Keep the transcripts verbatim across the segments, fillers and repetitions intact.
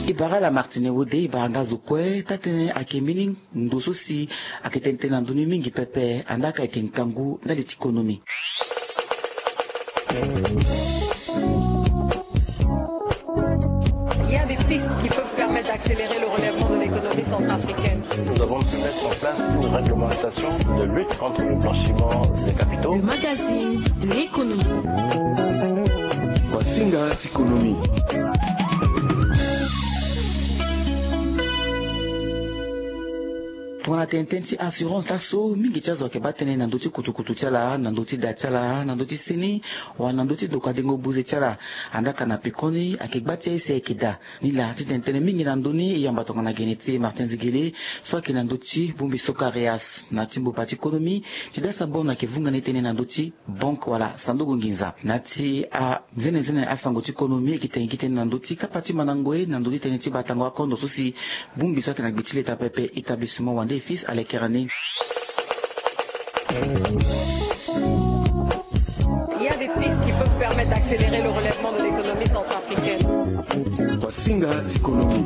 E bara ala Martine Wode, e bara nga zo kue taa-tënë ayeke mbeni ndo so si ayeke tene tënë na ndö ni mingi pepe, andaa ka ayeke ngangu ndali ti konomi. Il y a des pistes qui peuvent permettre d'accélérer le relèvement de l'économie centrafricaine. Nous avons pu mettre en place une réglementation de lutte contre le blanchiment des capitaux. Le magazine de l'économie. Masinga ti konomi. Tongana tene tënë ti assurance laso, mingi ti azo ayeke baa tënë na ndö ti kutukutu ti ala, na ndö ti da ti ala, na ndö ti seni, wala na ndö ti ndokua dengo buze ti ala. Andaa ka na pekoni ayeke gba ti aye si ayeke daa. Ni laa ti tene tënë mingi na ndö ni, e yamba tongana gene ti e Martin Zigele so ayeke na ndö ti bongbi so Karias. Na ti mbopa ti konomi, ti dasa bon ayeke vunga ni tënë na ndö ti banque wala sanduku nginza. Na ti anzenenzene asango ti konomi, e yeke tene gi tënë na ndö ti kapa ti mandango ye na ndö ti tënë ti batango akondo so si bongbi so ayeke na gbe ti leta pepe, établissement Wande et Fils, alekere ni. Il y a des pistes qui peuvent permettre d'accélérer le relèvement de l'économie centrafricaine. Masinga ti konomi.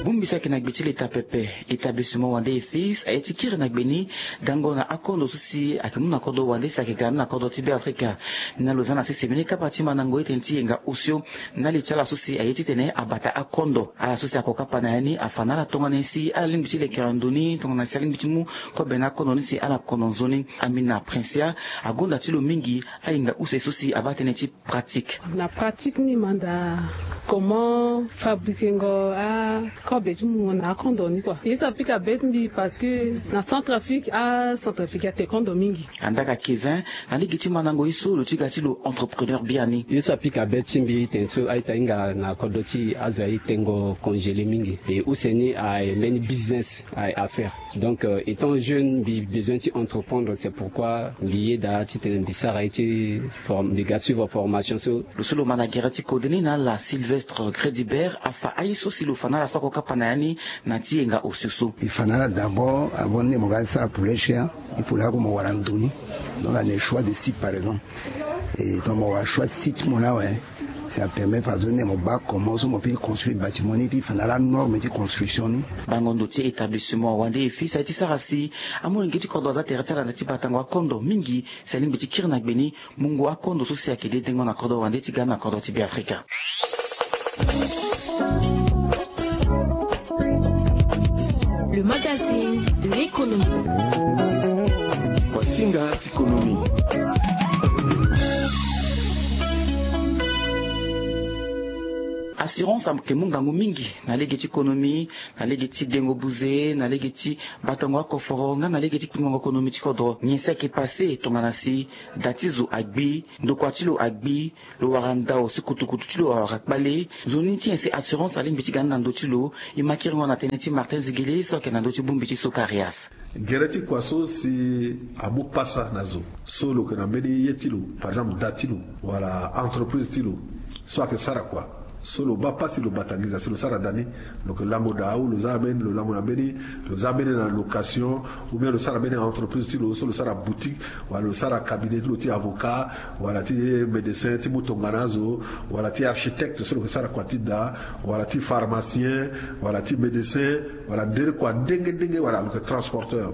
Bongbi so ayeke na gbe ti leta pepe, établissement Wande et Fils, aye ti kiri na gbe ni gango na akondo so si ayeke mu na kodro wande si ayeke ga ni na kodro ti Beafrika. Ni na lo za na sese mbeni kapa ti mandango ye tënë ti yenga osio ndali ti ala so si aye titene abata akondo. Ala so si ako kapa na ya ni afa na ala tongana nyen si ala lingbi ti lekere ndo ni, tongana nyen si alingbi ti mu kobe na akondo ni si ala kono nzoni. Amina Princia agonda ti lo mingi ayenga use so si abaa tënë ti pratique. Na pratique ni manda comment fabriquengo akobe ti mungo na akondo ni kua. Ye so apika be ti mbi parce que na Centrafrique, aCentrafrique ate kondo mingi. Andaa ka Kevin, na lege ti mandango ye so lo ti ga ti lo entrepreneur biani. Ye so apika be ti mbi tene so a-ita hinga na kodro ti azo aye tengo congélé mingi. E use ni aye mbeni business aye affaire. Donc, euh, étant jeune, mbi besoin ti entreprendre, c'est pourquoi mbi yeda titene mbi sara ye ti form-, mbi ga suivre formation so. Lo so lo ma na gere ti kode ni na ala Sylvestre Credibert afa aye so si lo fa na ala so ako kapa na ya ni na ti yenga osio so. E fa na ala d'abord, avant ni mo ga sara poulet cher, il faut lako mo wara ndo ni. Donc, ane choix de site par exemple. Et donc mo wara choix site mo na awe. Ça permet façon ni mo baa comment so mo peut construire bâtiment ni, puis fa na ala norme ti construction ni. Bango ndo ti établissement Wande et Fils aye ti sara si amolenge ti kodro aza tere ti ala na ti batango akondo mingi si alingbi ti kiri na gbe ni mungo akondo so si ayeke dedengo na kodro wande ti ga na kodro ti Beafrika. Le magazine de l'économie. Masinga ti konomi. Assurance ayeke mu ngangu mingi na lege ti konomi, na lege ti dengo buze, na lege ti batango akoforo nga na lege ti kpingongo konomi ti kodro. Nyen si ayeke pase tongana si da ti zo agbi, ndokua ti lo agbi, lo wara ndao si kutukutu ti lo awara kpale. Nzoni ti nyen si assurance alingbi ti ga ni na ndö ti lo? E ma kiringo na tënë ti Martin Zigele so ayeke na ndö ti bongbi ti Socarias. Gere ti kua so si amu pasa na zo so lo yeke na mbeni ye ti lo, par exemple da ti lo wala entreprise ti lo so ayeke sara kua, so lo baa pasi lo bata nginza si lo sara da ni. Lo yeke lango daa ou lo za mbeni, lo lango na mbeni, lo za mbeni na location, ou bien lo sara mbeni entreprise ti lo so lo sara boutique, wala lo sara cabinet ti lo ti avocat, wala ti médecin ti mu tongana azo, wala ti architecte so lo yeke sara kua ti da, wala ti pharmacien, wala ti médecin, wala ndere kua ndenge ndenge, wala lo yeke transporteur.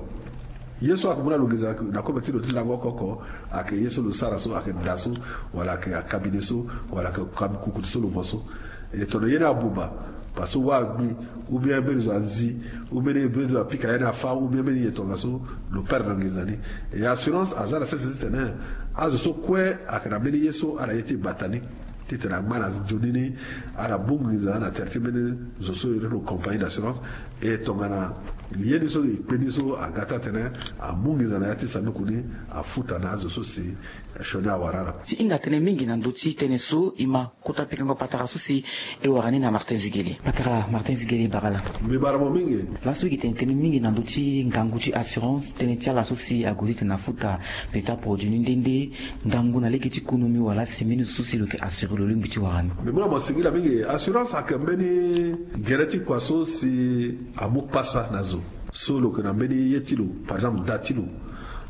Ye so ayeke mu na lo nginza na kobe ti lo ti lango oko oko, ayeke ye so lo sara so, ayeke da so, wala ayeke acabinet so, wala ayeke kab-, kukutu so lo vo so. E tongana ye ni abuba, parce que wa agbi, ou bien mbeni zo anzi, ou bien mbeni zo apika ya ni afa, ou bien mbeni ye tongaso, lo perdre nginza ni. E assurance aza na sese titene azo so kue ayeke na mbeni ye so ala ye ti bata ni, titene angba na nzoni ni, ala mu nginza na tere ti mbeni zo so iri lo compagnie d'assurance. E tongana ye ni so e kpe ni so aga ti atene amu nginza na ya ti sanduku ni, afuta na azo so si sioni awara ala. Ti hinga tënë mingi na ndö ti tënë so e ma kota pikango patara so si e wara ni na Martin Zigele. Patara Martin Zigele, e bara laa. Mbi bara mo mingi. Laso e yeke tene tënë mingi na ndö ti ngangu ti assurance, tënë ti ala so si ague titene afuta peut-être produit ni nde nde, ngangu na lege ti konomi wala si mbeni zo so si lo yeke assurer lo lingbi ti wara ni. Mbi mu na mo singila mingi. Assurance ayeke mbeni gere ti kua so si amu pasa na zo so lo yeke na mbeni ye ti lo, par exemple da ti lo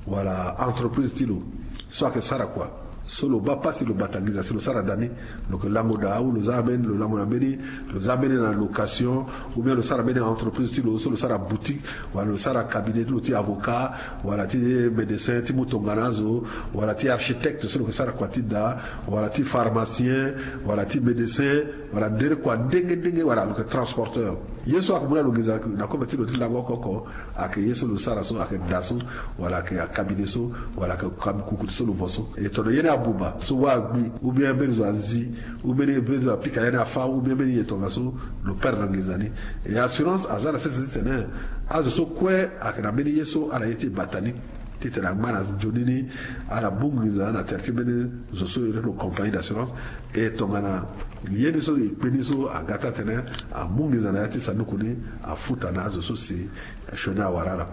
wala entreprise ti lo so ayeke sara kua, So lo baa pasi, lo bata nginza si lo sara daa ni. Lo yeke lango daa, ou lo za ambeni, lo lango na mbeni, lo za mbeni na location, ou bien lo sara mbeni entreprise ti lo, so lo sara boutique, wala lo sara cabinet ti lo ti avocat, wala ti médecin ti mu tongana azo, wala ti architecte so lo yeke sara kua ti daa, wala ti pharmacien, wala ti médecin, wala ndere kua ndenge ndenge, wala lo yeke transporteur. Ye so ayeke mu na lo nginza na kobe ti lo ti lango oko oko, ayeke ye so lo sara so, ayeke daa so, wala ayeke cabinet so, wala ayeke kukutu so lo vo so. E tongana ye ni abuba so, wâ agbi, ou bien mbeni zo anzi, ou mbeni mbeni zo apika ye ni afa, ou bien mbeni ye tongaso, lo perdre nginza ni. E assurance aza na sese titene azo so kue ayeke na mbeni ye so ala ye ti bata ni, titene angba na nzoni ni, ala mu nginza na tere ti mbeni zo so iri lo compagnie d'assurance. E tongana ye ni so e kpe ni so aga ti atene amu nginza na ya ti sanduku ni, afuta na azo so si sioni awara ala.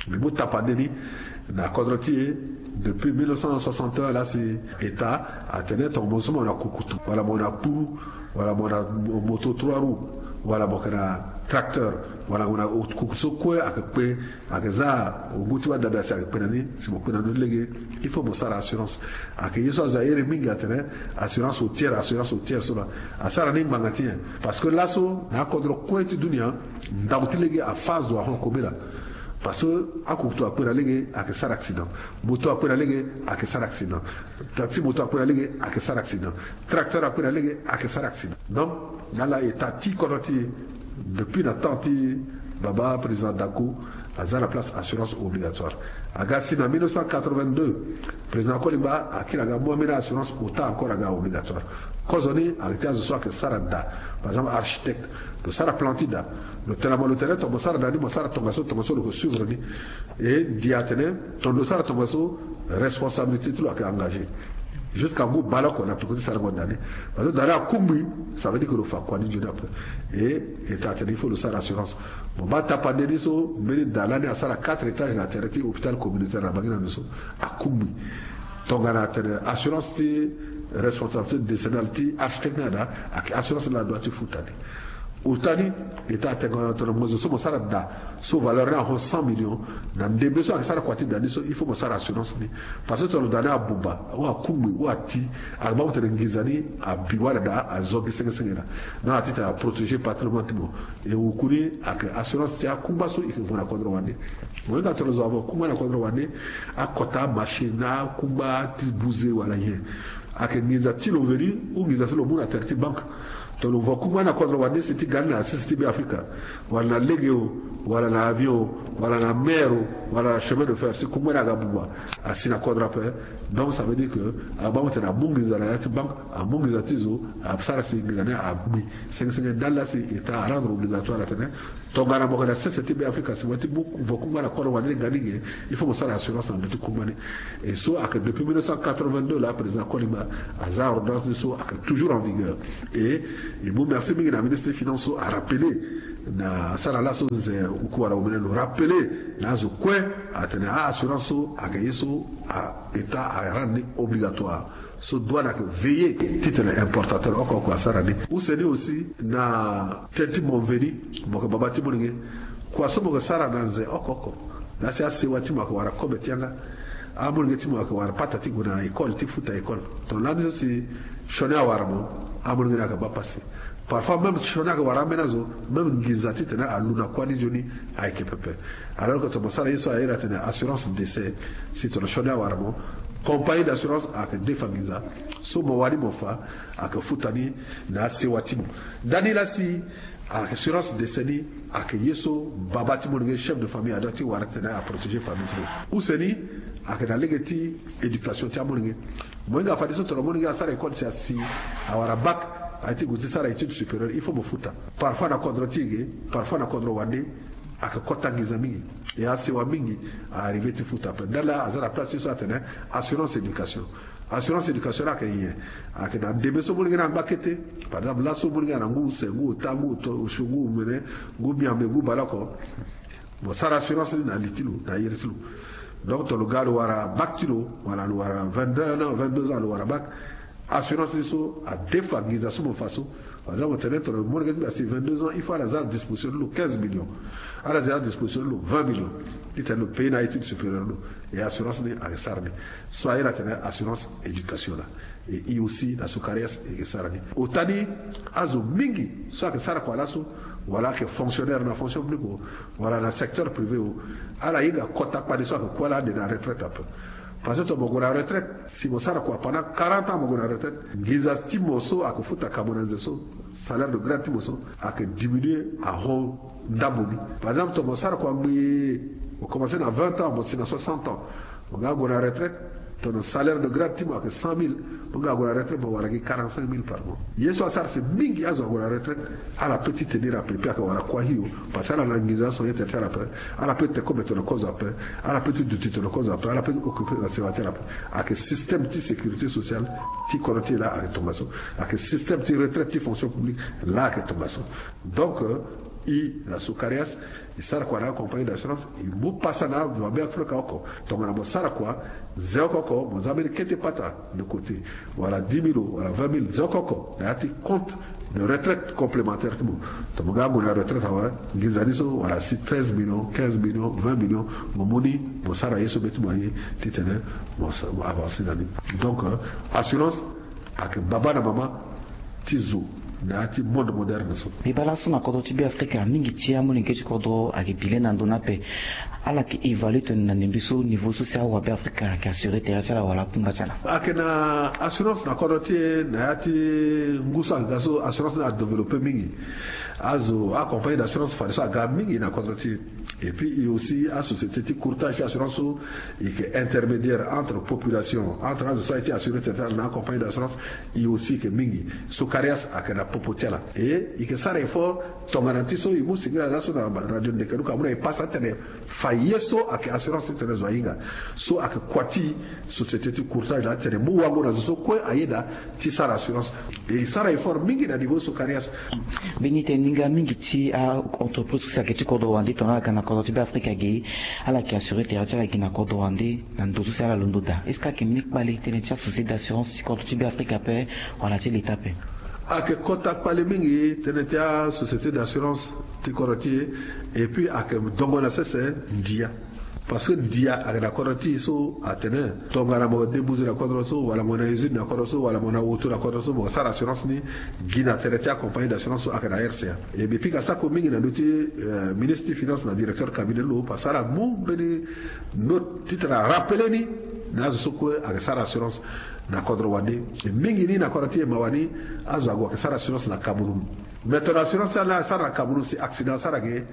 Mbi mu tapande ni na kodro ti e, depuis mille neuf cent soixante et un laa si État atene tongana mo so mo na kukutu, wala mo na kpuru, wala mo na moto trois roues, wala mo yeke na tracteur, wala mo na kukutu so kue ayeke kpe, ayeke za ngu ti wâ dada si ayeke kpe na ni, si mo kpe na ni lege, il faut mo sara assurance. Ayeke ye so azo ahere mingi atene assurance routière, assurance routière so laa asara ni ngbanga ti nyen? Parce que laso na akodro kue ti dunia, ndau ti lege afâ zo ahon kobela. Parce que akukutu akpe na lege, ayeke sara accident. Moto akpe na lege, ayeke sara accident. Taxi moto akpe na lege, ayeke sara accident. Tracteur akpe na lege, ayeke sara accident. Donc na ala État ti kodro ti e, depuis na temps ti baba président Daco, aza na place assurance obligatoire. Aga si na mille neuf cent quatre-vingt-deux, président Kolimba akiri aga mu ambeni assurance ota encore aga obligatoire. Kozoni ayeke ti azo so ayeke sara daa, par exemple architecte, lo sara plan ti daa, lo tene na mo, lo tene tongana mo sara daa ni, mo sara tongaso, tongaso lo yeke suivre ni. E ndi atene tongana lo sara tongaso, responsabilité ti lo ayeke engagé. Jusqu'à ngu baleoko na peko ti sarango daa ni. Parce que daa ni akungbi, ça veut dire que lo fa kua ni nzoni ape. E État atene il faut lo sara assurance. Mo baa tapande ni so, mbeni daa lani asara quatre étages na tere ti hôpital communautaire na Bangi na ndo so, akungbi. Tongana atene assurance ti responsabilité décennale ti architecte ni ada, ayeke assurance ni la adoit ti futa ni. Ota ni, État atene tongana mo zo so mo sara daa so valeur ni ahon cent millions, na ndembe so ayeke sara kua ti daa ni so, il faut mo sara assurance ni. Parce que tongana daa ni abuba, ou akungbi, ou ati, ayeke baa mo tene nginza ni abi wala daa azo gi senge senge laa. Na ala titene aprotéger patrimoine ti mo. E wuku ni ayeke assurance ti akungba so e yeke vo na kodro wande. Mo hinga tongana zo avo kungba na kodro wande, akota machine na akungba ti buze wala nyen, ayeke nginza ti lo veni ou nginza so lo mu na tere ti banque. Tongana lo vo kungba na kodro wande si ti ga ni na sese ti Be Afrika, wala na lege o, wala na avion o, wala na mer o, wala na chemin de fer, si kungba ni aga buba, asi na kodro ape. Donc ça veut dire que aga baa mo tene amu nginza na ya ti banque, amu nginza ti zo, asara si nginza ni agbi senge senge. Ndali laa si État arendre obligatoire atene tongana mo yeke na sese ti Be Afrika, si mo ye ti mu vo kungba na kodro wande ni ga ni ge, il faut mo sara assurance na ndö ti kungba ni. E so ayeke depuis mille neuf cent quatre-vingt-deux laa président Kolimba aza ordonnance ni so ayeke toujours en vigueur. E mbi mu merci mingi na ministre ti finance so arappeler na asara laso nze uku wala omene lo rappeler na azo kue atene a assurance so ayeke ye so a État arendre ni obligatoire. So douane ayeke veiller titene importateur oko oko asara ni. Use ni aussi na tënë ti mo veni, mo yeke baba ti molenge, kua so mo yeke sara na nze oko oko, laa si asewa ti mo ayeke wara kobe ti yanga, amolenge ti mo ayeke wara pata ti gue na école ti futa école. Donc lani so si sioni awara mo, amolenge ni ayeke baa pasi. Parfois même sioni ayeke wara ambeni azo, même nginza titene alu na kuâ ni nzoni ayeke pepe. Alors que tongana mo sara ye so airi atene assurance décès, si tongana sioni awara mo, compagnie d'assurance ayeke defa nginza so mo wani mo fa, ayeke futa ni na asewa ti mo. Ndani laa si assurance décès ni ayeke ye so baba ti molenge, chef de famille, adoit ti wara titene aprotéger famille ti lo. Use ni ayeke na lege ti éducation ti amolenge. Mo hinga fadeso tongana molenge asara école si asi awara bac, aye ti gue ti sara étude supérieure, il faut mo futa. Parfois na kodro ti e ge, parfois na kodro wande, ayeke kota nginza mingi. E asewa mingi a arriver ti futa ape. Ndali laa aza na place ti so atene assurance éducation. Assurance éducation ni ayeke nyen? Ayeke na ndembe so molenge ni angba kete. Par exemple laso molenge ni na ngu use, ngu ota, ngu oto, osio, ngu omene, ngu miambe, ngu baleoko. Mo sara assurance ni na li ti lo, na iri ti lo. Donc tongana lo ga lo wara bac ti lo, wala lo wara vingt-deux ans, vingt-deux ans lo wara bac, assurance ni so adefa nginza so mo fa so, Par exemple, tene tene molenge ti mbi asi vingt-deux ans, il faut ala za na disposition ti lo quinze millions. Ala za na disposition ti lo vingt millions. Ti tene lo pays na étude supérieure ti lo. Et assurance ni ayeke sara ni. So aye na tene assurance éducation la. Et i aussi na so karias e yeke sara ni. Ota ni, azo mingi so ayeke sara kua laso, wala ayeke fonctionnaire na fonction publique o, wala na secteur privé o, ala hinga kota kpale so ayeke kue ala ande na retraite ape. Parce que tongana mo gue na retraite, si mo sara kua pendant quarante ans mo gue na retraite, nginza ti mo so ayeke futa kamo na nze so, salaire de grade ti mo so ayeke diminuer ahon ndambo ni. Par exemple tongana mo sara kua ngbii, mo commencer na vingt ans mo si na soixante ans, mo nga gue na retraite, tongana salaire de grade ti mo ayeke cent mille, mo nga gue na retraite mo wara gi quarante-cinq mille par mois. Ye so asara si mingi azo ague na retraite, ala peut ti tenir ape, puis ayeke wara kua hio. Parce que ala na nginza so ye tere ti ala ape. Ala peut ti te kobe tongana kozo ape. Ala peut ti duti tongana kozo ape. Ala peut ti occuper na sewa ti ala ape. Ayeke système ti sécurité sociale ti kodro ti e laa ayeke tongaso. Ayeke système ti retraite ti fonction publique laa ayeke tongaso. Donc, euh, i na so karias, i sara kua na acompagnie d'assurance, i mu pasa na azo abe afrika oko. Tongana mo sara kua, nze oko oko mo za mbeni kete pata de côté, wala dix mille o wala vingt mille, nze oko oko na ya ti compte de retraite complémentaire ti mo. Tongana mo ga mo na retraite awe, nginza ni so wala asi treize millions, quinze millions, vingt millions, mo mu ni, mo sara ye so be ti mo aye, ti tene mo sa- mo avancer na ni. Donc, euh, assurance ayeke baba na mama ti zo na ya ti monde moderne so. Mbi baa laso na kodro ti be afrika, mingi ti amolenge ti kodro ayeke bi le na ndo ni ape. Ala yeke évaluer tongana na ndembe so niveau so si awabe afrika ayeke assurer tere ti ala wala akungba ti ala. Ayeke na assurance na kodro ti e na ya ti ngu so ayeke ga so, assurance ni adévelopper mingi. Azo acompagnie d'assurance fadeso aga mingi na kodro ti e. Et puis e aussi asociété ti courtage ti assurance so, e yeke intermédiaire entre population, entre azo so aye ti assurer tere ti ala na acompagnie d'assurance. E aussi e yeke mingi. So karias ayeke na popo ti ala, e e yeke sara effort. Tongana ti so e mu singila laso na radio ndeke luka amu na e pasa ti tene fa ye so ayeke assurance ti tene zo ahinga. So ayeke kua ti société ti courtage laa ti tene mu wango na zo so kue ayeda ti sara assurance. E sara effort mingi na niveau so karias. Mbeni tene ni nga mingi ti a entreprise so si ayeke ti kodro wande tongana ala ga na kodro ti be afrika ge, ala yeke assurer tere ti ala ge na kodro wande na ndo so si ala londo daa. Est-ce que ayeke mbeni kpale tënë ti asociété d'assurance ti kodro ti be afrika ape, wala ti leta ape? Ayeke kota kpale mingi tënë ti asociété d'assurance ti kodro ti e. Et puis ayeke dongo na sese ndia. Parce que ndia ayeke na kodro ti e so atene tongana mo débouze na kodro so, wala mo na usine na kodro so, wala mo na woto na kodro so, mo sara assurance ni gi na tere ti acompagnie d'assurance so ayeke na rca. E mbi pika sako mingi na ndö ti ministre ti finance na directeur cabinet ti lo, parce que ala mu mbeni note ti tene arappeler ni na azo so kue ayeke sara assurance na kodro wande. Mingi ni na kodro ti e mawa ni, azo ague ayeke sara assurance na cameroun. Mais tongana assurance ti ala ni asara na cameroun, si accident asara ge,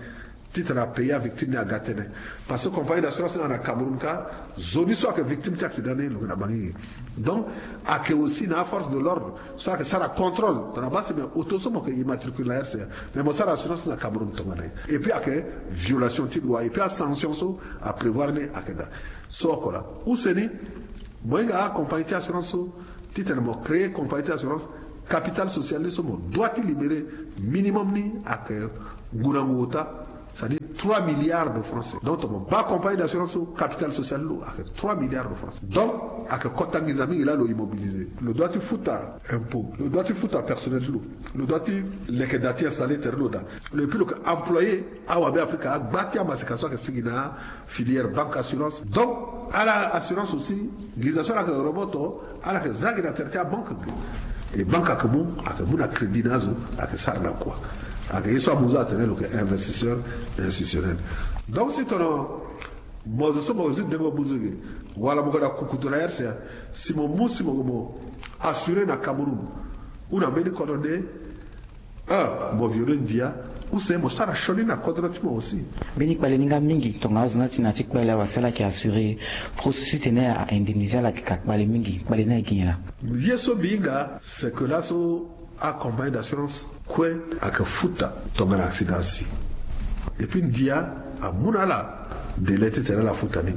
ti tene apayer avictime ni aga tënë. Parce que compagnie d'assurance ni aga na cameroun kâ, zo ni so ayeke victime ti accident ni lo yeke na bangi ge. Donc ayeke aussi na aforce de l'ordre so ayeke sara contrôle tongana baa si me auto so mo yeke immatricule na rca, me mo sara assurance na cameroun tongana ye. Et puis ayeke violation ti loi, et puis asanction so aprévoir ni ayeke daa. So oko laa use ni, mo hinga acompagnie ti assurance so, ti tene mo créer compagnie ti assurance, capital social ni so mo doit ti libérer minimum ni ayeke ngu na ngu ota, c'est-à-dire trois milliards de francs. Donc tongana mo baa compagnie d'assurance so, capital social ni lo ayeke trois milliards de francs. Donc ayeke kota nginza mingi laa lo immobiliser. Lo doit ti futa impôt, lo doit ti futa personnel ti lo, lo doit ti leke daa ti installer tere ti lo daa. Lo, et puis lo yeke employer awabe afrika agba ti amaseka so ayeke sigi na filière banque assurance. Donc ala assurance aussi, nginza so ala yeke roboto, ala yeke za gi na tere ti abanque. E banque ayeke mu, ayeke mu na crédit na azo, ayeke sara na kua. Ayeke ye so amu zo atene lo yeke investisseur institutionnel. Donc si tongana mo zo so mo zi dengo buzu ge, wala mo yeke na kukutu na rca, si mo mu si mo yeke mo assurer na cameroun ou na mbeni kodro nde, un, mo violer ndia. Use mo sara sioni na kodro ti mo aussi. Mbeni kpale ni nga mingi tongana azo ni ati na ya ti kpale awe, si ala yeke assurer, processus ti tene a indemniser ala yeke ka kpale mingi. Kpale ni ayeke gi nyen laa? Ye so mbi hinga c'est que laso acompagnie d'assurance kue ayeke futa tongana accident asi. Et puis ndia amu na ala Délai ti tene ala futa ni.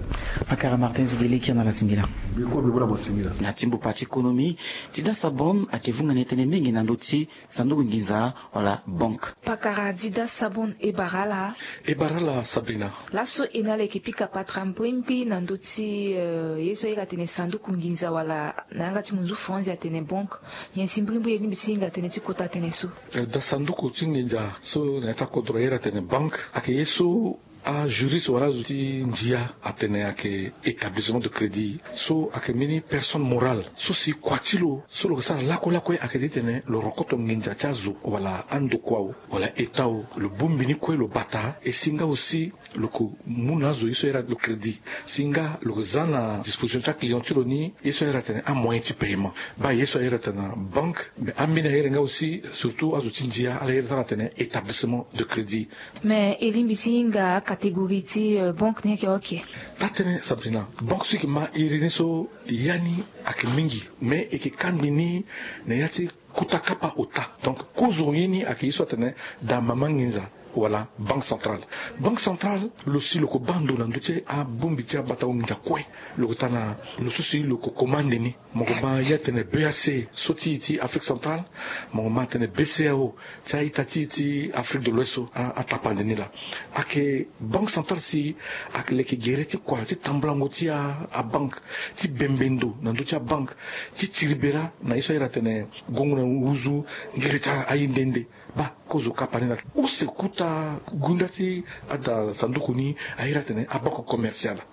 Pakara Martin Zidele, kiri na ala singila. Biko bibula mo singila. Na timbo pati économie, Dida Sabon ayeke vunga na e tënë mingi na ndö ti sanduku nginza wala banque. Pakara Dida Sabon, e bara ala. E bara ala Sabrina. Laso e na ala e yeke pika patara mbirimbiri na ndö ti, eh, ye so a iri atene sanduku nginza wala na yanga ti munzu Faranzi atene banque. Nyen si mbirimbiri e lingbi ti hinga tënë ti kota tënë so? Eh, da sanduku ti nginza so na ya ti akodro a iri atene banque ayeke ye so ajuriste wala azo ti ndia atene ayeke établissement de crédit, so ayeke mbeni personne morale so si kua ti lo so lo yeke sara lakue lakue ayeke titene lo rokoto nginza ti azo wala andokua o wala état o, lo bongbi ni kue lo bata. E si nga aussi lo yeke mu na azo ye so a iri lo crédit, si nga lo yeke za na disposition ti aclient ti lo ni ye so a iri atene amoyen ti paiement. Baa ye so a iri atene banque, mais ambeni a iri nga aussi surtout azo ti ndia ala iri ti ala atene établissement de crédit. Mais e lingbi ti hinga acatégorie ti, euh, banque ni ayeke? Ok. Taa tënë Sabrina, banque so e yeke ma iri ni so ya ni ayeke mingi, mais e yeke kangbi ni na ya ti kota kapa ota. Donc kozo ye ni ayeke ye so atene da mama nginza wala banque centrale. Banque centrale lo si lo yeke baa ndo na ndö ti abongbi ti abatango nginza kue. Lo yeke taa na lo so si lo yeke komande ni. Mo yeke ma ye atene B A C so ti e ti Afrique centrale. Mo yeke ma atene B C E A O ti a-ita ti e ti Afrique de l'Ouest so, a, atapande ni laa. Ayeke banque centrale si ayeke leke gere ti kua ti tambulango ti a, abanque, ti bembe ndo na ndö ti abanque, ti tiri bera na ye so a iri atene gongo na nduzu, ngere ti aye nde nde. Baa kozo kapa ni laa. Use kota gunda ti ada sanduku ni a iri atene abanque commerciale.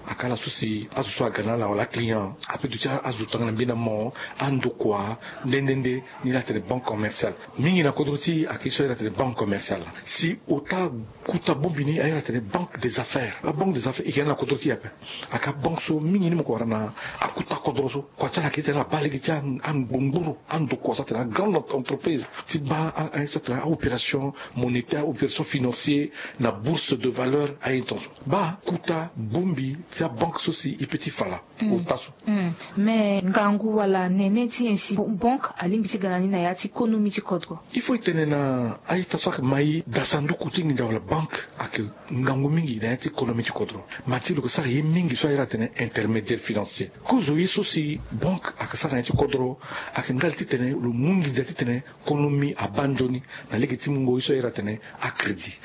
Ayeke ala so si azo so aga na ala wala aclient apeut duti azo tongana mbeni aman, andokua, nde nde nde. Ni la atene banque commerciale. Mingi na kodro ti e ayeke ye so a iri atene banque commerciale laa. Si ota kota bongbi ni a iri atene banque des affaires. Abanque des affaires e yeke na ala na kodro ti e ape. Ayeke abanque so mingi ni mo yeke wara na akota kodro so. Kua ti ala ayeke titene ala baa lege ti angbongburu, andokua so atene agrande entreprise ti baa a, a, so atene aopération monétaire, aopération financier na bourse de valeur, aye tongaso. Baa kota bongbi ti abanque so si e peut ti fa laa. Mm. Ota so. Mm. Mais ngangu wala nene ti nyen si banque alingbi ti ga na ni na ya ti konomi ti kodro? Il faut e tene na a-ita so ayeke ma e, da sanduku ti nginza wala banque ayeke ngangu mingi na ya ti konomi ti kodro. Ma ti lo yeke sara ye mingi so a iri atene intermédiaire financier. Kozo ye so si banque ayeke sara na ya ti kodro ayeke ndali titene lo mu nginza titene konomi abaa nzoni na lege ti mungo ye so a iri atene acrédit.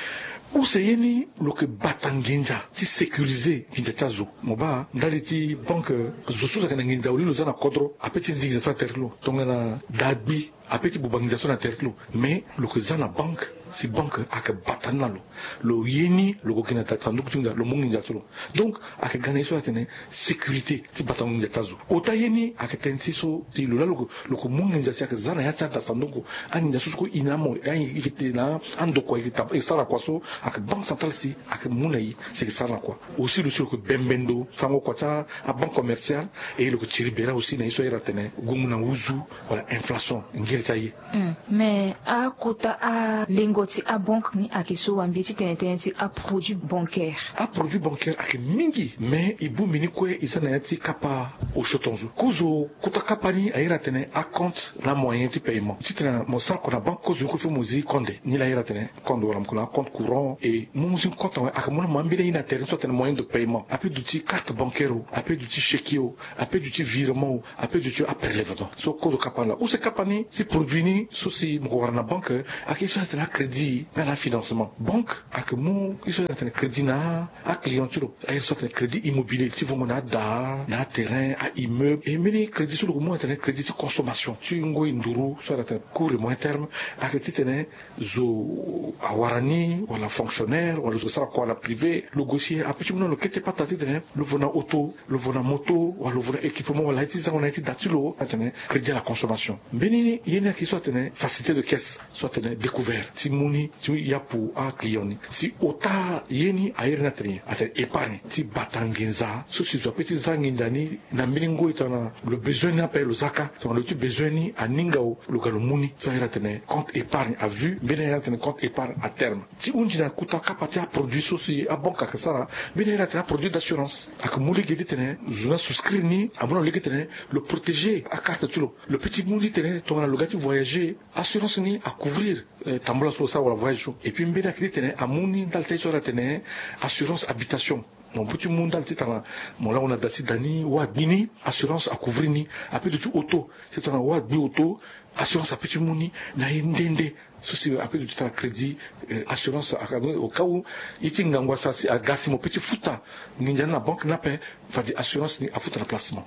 Use ye ni lo yeke bata nginza ti sécuriser nginza ti azo. Mo baa ndali ti banque, zo so si ayeke na nginza awe lo za na kodro apeut ti zi nginza so na tere ti lo. Tongana da gbi apeut ti buba nginza so na tere ti lo. Mais lo yeke za na banque, si banque ayeke bata ni na lo. Lo ye ni lo yeke gi na da sanduku ti nginza lo mu nginza ti lo. Donc ayeke ga na ye so atene sécurité ti batango nginza ti azo. Ota ye ni ayeke tënë ti so ti lo laa lo yeke, lo yeke mu nginza si ayeke za na ya ti ada sanduku. Anginza so so kue e na mo, e yeke tene na andokua e yeke sara na kua so, ayeke banque centrale si ayeke mu na e si e yeke sara na kua. Aussi lo si lo yeke bembe ndo, fango kua ti abanque commerciale. E lo yeke tiri bera aussi na ye so a iri atene gongo na nduzu wala inflation, ngere ti aye. Mm. Mais akota alengo ti abanque ni ayeke so wambi ti tene tënë ti aproduit bancaire. Aproduit bancaire ayeke mingi, mais e bongbi ni kue e za na ya ti kapa osio tongaso. Kozo kota kapa ni a iri atene acompte na moyen ti paiement. Titene mo sara kua na banque, kozo ni kue fo mo zi konde. Ni la a iri atene konde wala mo yeke na acompte courant. E mu mu zi compte awe, ayeke mu na mo ambeni aye na tere ni so atene moyen de paiement. Apeut duti carte bancaire o, apeut duti chèque o, apeut duti virement o, apeut duti aprélèvement. So kozo kapa ni laa. Use kapa ni ti produit ni so si mo yeke wara na banque ayeke ye so atene acrédit nga na afinancement. Banque ayeke mu ye so atene crédit na aclient ti lo. Aye so atene crédit immobilier ti vongo na ada, na aterrain, aimmeuble. E mbeni crédit so lo yeke mu atene crédit ti consommation ti ngoi nduru so atene court et moyen terme. Ayeke titene zo awara ni wala fonctionnaire wala zo sara kua na privé, lo gue si apeut ti mu na lo kete pata titene lo vo na auto, lo vo na moto, wala lo vo na équipement wala ye ti zango na ye ti da ti lo atene crédit à la consommation. Mbeni ye ni ayeke so atene facilité de caisse, so atene découvert ti mu ni ti yapu aclient ni. Si ota ye ni a iri ni atene nyen? Atene épargne ti bata nginza so si zo apeut ti za nginza ni na mbeni ngoi tongana lo besoin ni ape lo za kâ. Tongana lo ti besoin ni aninga o, lo ga lo mu ni. So a iri atene compte épargne à vue, mbeni a iri atene compte épargne à terme. Ti hunzi na kota kapa ti aproduit so si abanque ayeke sara, mbeni a iri atene aproduit d'assurance. Ayeke mu lege titene zo ni asouscrire ni, amu na lo lege titene lo protéger acarte ti lo. Lo peut ti mu ni titene tongana lo Ti voyager, assurance ni a couvrir tambula so lo sara wala voyage so. Et puis mbeni ayeke ti tene amu ni ndali ti aye so ala tene assurance habitation. Mo peut ti mu ndali ti tana mo lango na da ti da ni wa agbi ni, assurance a couvrir ni. Ape duti auto ti tana wa agbi auto, assurance ape ti mu ni na ye nde nde. So si ape duti tana crédit, assurance au cas où ye ti ngangu asara si aga si mo peut ti futa nginza ni na banque ni ape. Fade assurance ni afuta na place ti mo.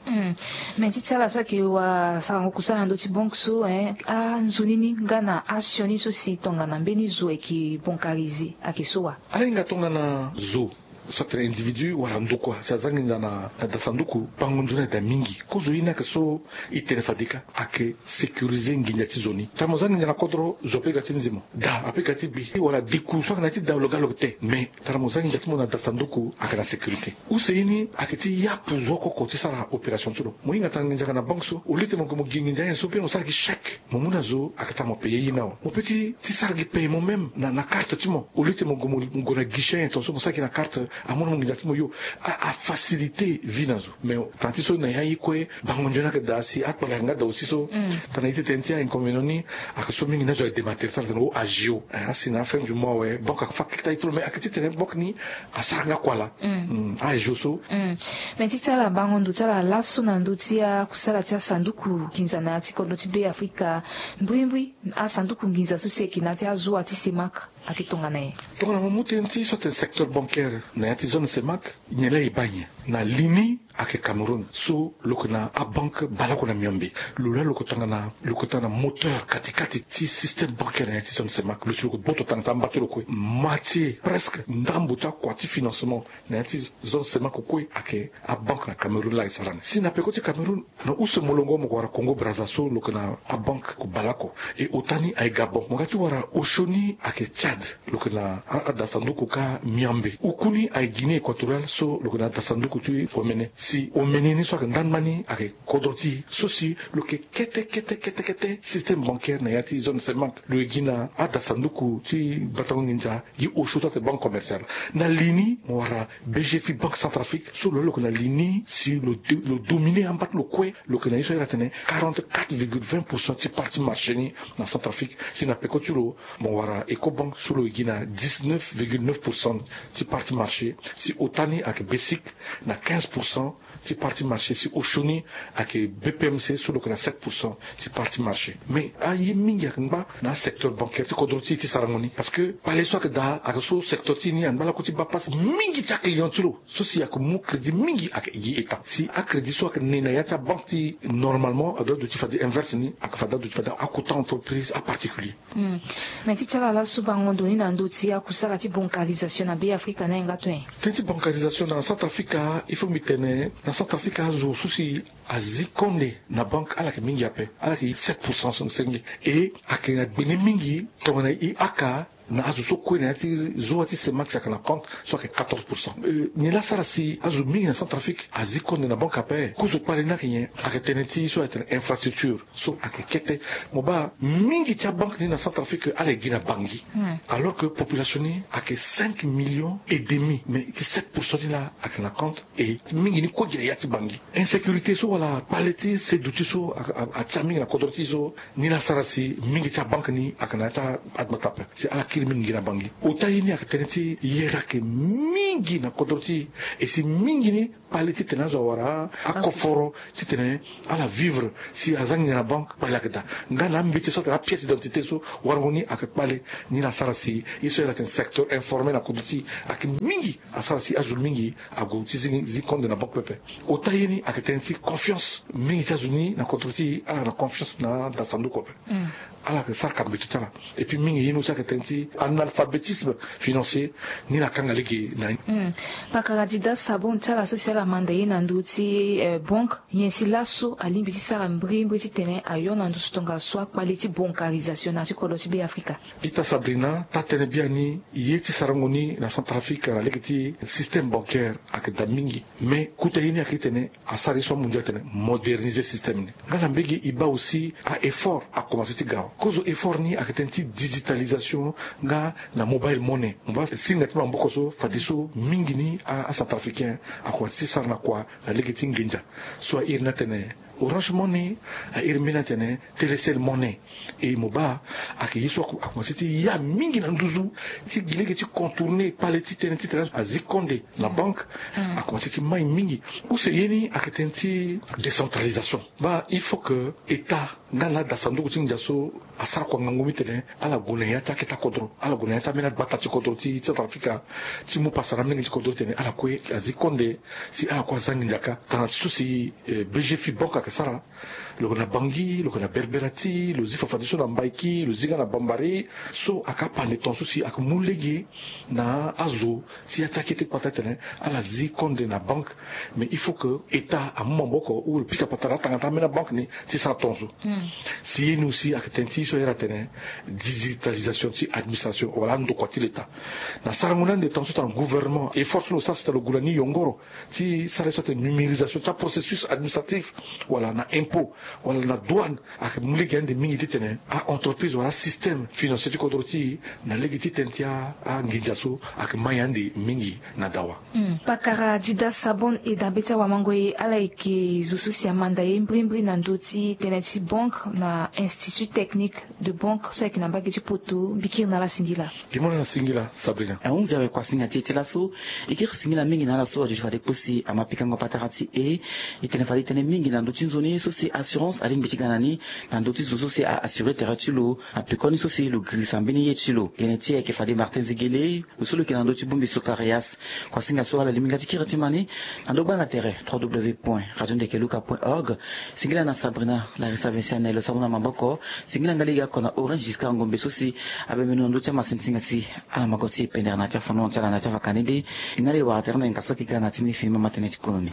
Mais ti ti ala so ayeke wa sarango kusala na ndö ti banque so, anzoni ni nga na asioni so si tongana mbeni zo ayeke bancarisé ayeke so wa? Ala hinga tongana zo so atene individu wala ndokua si aza nginza na da sanduku, bango nzoni ayeda mingi. Kozo ye ni ayeke so e tene fade ka ayeke sécuriser nginza ti zo ni. Tara mo za nginza na kodro, zo ape ga ti nzi mo, da ape ga ti gbi wala diku so ayeke na ya ti da lo ga lo yeke te. Mais tara mo za nginza ti mo na da sanduku ayeke na sécurité. Use ye ni ayeke ti yapu zo oko oko ti sara opération ti lo. Mo hinga tara nginza ayeke na banque so, au lieu ti mo gue mo gi nginza anyen so pe mo sara gi chèque, mo mu na zo ayeke tara mo payer ye ni awe. Mo peut ti ti sara gi paiement même na na carte ti mo, au lieu ti mo gue mo gue na guichet anyen tongaso mo sara gi na carte, amu na mo nginza ti mo yo. A a faciliter vie na zo. Mais tana ti so na ya ye kue bango nzoni ayeke daa si akpale ayeke nga daa aussi so. Tana ye ti tene ti a inconvénient ni ayeke so mingi ni azo ayeke démater ti ala tene o agio asi na afin du mois awe banque ayeke fa keta ye ti lo mais ayeke ti tene banque ni asara nga kua laa. Agio so. Mais ti ti ala bango ndo ti ala laso na ndö ti akusala ti asanduku nginza na ya ti kodro ti be afrika, mbrimbri asanduku nginza so si ayeke na ya ti azoa ti semak ayeke tongana nyen? Tongana mo mu tënë ti so atene secteur bancaire na ya ti zone semak, nyen laa e baa nyen? Na li ni ayeke Cameroun so lo yeke na abanque baleoko na miombe. Lo laa lo yeke tongana lo yeke tongana moteur kati kati ti système bancaire na ya ti zone semak. Lo si lo yeke gboto tanga ti amba ti lo kue. Moitié presque ndambo ti akua ti financement na ya ti zone semak kue ayeke abanque na Cameroun laa e sara ni. Si na peko ti Cameroun, na use molongo mo ko wara Congo Brazza so lo yeke na abanque ko baleoko. E ota ni aye Gabon. Mo ga ti wara osio ni ayeke Tchad, lo yeke na a, ada sanduku ka miambe. Oku ni aye Guinée équatoriale so lo yeke na ada sanduku ti omene. Si omene ni so ayeke ndangba ni ayeke kodro ti e so si lo yeke kete kete kete kete système bancaire na ya ti zone semak. Lo ye gi na ada sanduku ti batango nginza gi osio so atene banque commerciale. Na li ni mo wara B G F I, Banque Centrafrique so lo yeke na li ni si lo dominer amba ti lo kue. Lo yeke na ye so ala tene quarante-quatre virgule vingt pour cent ti part ti marché ni na Centrafrique. Si na peko ti lo mo wara Ecobank so lo ye gi na dix-neuf virgule neuf pour cent ti part ti marché. Si ota ni ayeke BCIC na quinze pour cent ti part ti marché. Si osio ni ayeke BPMC so lo yeke na sept pour cent ti part ti marché. Mais aye mingi ayeke ngba na asecteur bancaire ti kodro ti e ti sarango ni parce que kpale so ayeke daa ayeke so secteur ti e ni angba lakue ti baa pasi mingi ti aclient ti lo. So si ayeke mu crédit mingi ayeke gi état. Si acrédit so ayeke ne na ya ti abanque ti e normalement adoit aduti fade inverse ni ayeke fade aduti fade akota entreprise aparticulier. Mais ti ti ala laso bango ndo ni na ndö ti akusala ti bancarisation na be afrika ni ayeke nga to nyen? Tënë ti bancarisation na Centrafrique, il faut mbi tene na Centrafrique azo so si azi konde na banque ala yeke mingi ape. Ala yeke sept pour cent so na senge. E ayeke na gbe ni mingi tongana e aka na azo so kue na ya ti zoa ti semak si ayeke na compte so ayeke quatorze pour cent. Nyen laa asara si azo mingi na Centrafrique azi konde na banque ape? Kozo kpale ni ayeke nyen? Ayeke tënë ti so ayeke tene infrastructure so ayeke kete. Mo baa mingi ti abanque ni na Centrafrique ala ye gi na Bangui. Alors que population ni ayeke cinq millions et demi mais ti sept pour cent ni laa ayeke na compte. E mingi ni kue gi na ya ti Bangui. Insécurité so wala kpale ti seduti so atia mingi na kodro ti e so. Ni laa asara si mingi ti abanque ni ayeke na ya ti agbata ape si ala kiri mingi gi na Bangui. Ota ye ni ayeke tënë ti yere ayeke mingi na kodro ti e. E si mingi ni kpale titene azo awara akoforo titene ala vivre. Si aza nginza na banque kpale ayeke daa. Nga na ambeti so atene apièce d'identité so warango ni ayeke kpale. Ni laa asara si ye so ala tene secteur informel na kodro ti e ayeke mingi. Asara si azo mingi ague ti zi zi konde na banque pepe. Ota ye ni ayeke tënë ti confiance. Mingi ti azo ni na kodro ti e ala na confiance na da sanduku ape. Ala yeke sara kambeto ti ala. Et puis mingi ye ni aussi ayeke tënë ti analphabétisme financier. Ni laa akanga lege na ni. Pakara dida sabon ti ala so si ala manda ye na ndö ti banque. Nyen si laso alingbi ti sara mbrimbri titene ayo na ndusu tongaso akpale ti bancarisation na ya ti kodro ti be afrika? Ita Sabrina, taa-tënë biani ye ti sarango ni na Centrafrique na lege ti système bancaire ayeke daa mingi. Mais kota ye ni ayeke titene asara ye so amu ndia atene moderniser système ni. Nga na mbege e baa aussi a-effort akomanse ti ga awe. Kozo effort ni ayeke tënë ti digitalisation nga na mobile money. Mo baa singa ti maboko so fadeso mingi ni acentrafricain akomanse ti sara na kua na lege ti nginza. So a iri ni atene Orange Money a iri mbeni atene Telecel Money. E mo baa, ayeke ye so akomanse ti ya mingi na nduzu ti gi lege ti contourner kpale ti tënë titene azi konde na banque. Akomanse ti mai mingi. Use ye ni ayeke tënë ti décentralisation. Baa il faut que état nga na ada sanduku ti nginza so asara kua ngangu mitene ala gue na ya ti aketa kodro, ala gue na ya ti ambeni agbata ti kodro ti Centrafrique, ti mu pasa na amolenge ti kodro titene ala kue azi konde, si ala kue aza nginza kâ. Tanga ti so si BGFIBank ayeke sara, lo yeke na Bangui, lo yeke na Berberati, lo zi fafadeso na Mbaïki, lo zi nga na Bambari. So ayeke apande ton so si ayeke mu lege na azo si ya ti akete kpata titene ala zi konde na banque. Mais il faut que état amu maboko ou lo pika patara atanga ti ambeni abanque ni ti sara ton so. Si ye ni aussi ayeke tënë ti so ayere atene digitalisation ti administration wala andokua ti l'état. Na sarango ni ande ton so titene gouvernement effort so lo sara si titene lo gue na ni yongoro ti sara ye so atene numérisation ti aprocessus administratif wala na impôt wala na douane. Ayeke mu lege ande mingi titene a-entreprise wala asystème financier ti kodro ti e na lege ti tënë ti anginza so ayeke mai ande mingi na dawa. Pakara Dida Sabon e dabe ti awamango e ala yeke zo so si amanda e mbrimbri na ndö ti tënë ti banque na institut technique de banque so ayeke na mbage ti poto. Mbikiri na ala singila. Gi mona na singila Sabrina. Ahunzi awe kuasinga ti e ti laso. E kiri singila mingi na ala so aduti fade kpo si ama pikango patara ti e. E tene fade e tene mingi na ndö ti nzoni so si assurance alingbi ti ga na ni na ndö ti zo so si a-assurer tere ti lo na pekoni so si lo girisa mbeni ye ti lo. Tene ti e ayeke fade Martin Zegele, lo so lo yeke na ndö ti bongbi Socarias. Kuasinga so ala lingbi nga ti kiri ti ma ni na ndö gbanga tere trois w point radio ndeke luka point org. Singila na Sabrina Larissa Vincent na e lo samu na maboko. Singila nga lege oko na Orange Giscard Ngombe so si abembe na ndö ti amasinsinga si ala mako ti e pendere na ya ti afandongo ti ala na ya ti avakani de. E na le wara tere na yinga so ayeke ga na ya ti mbeni fini mama tënë ti kono ni.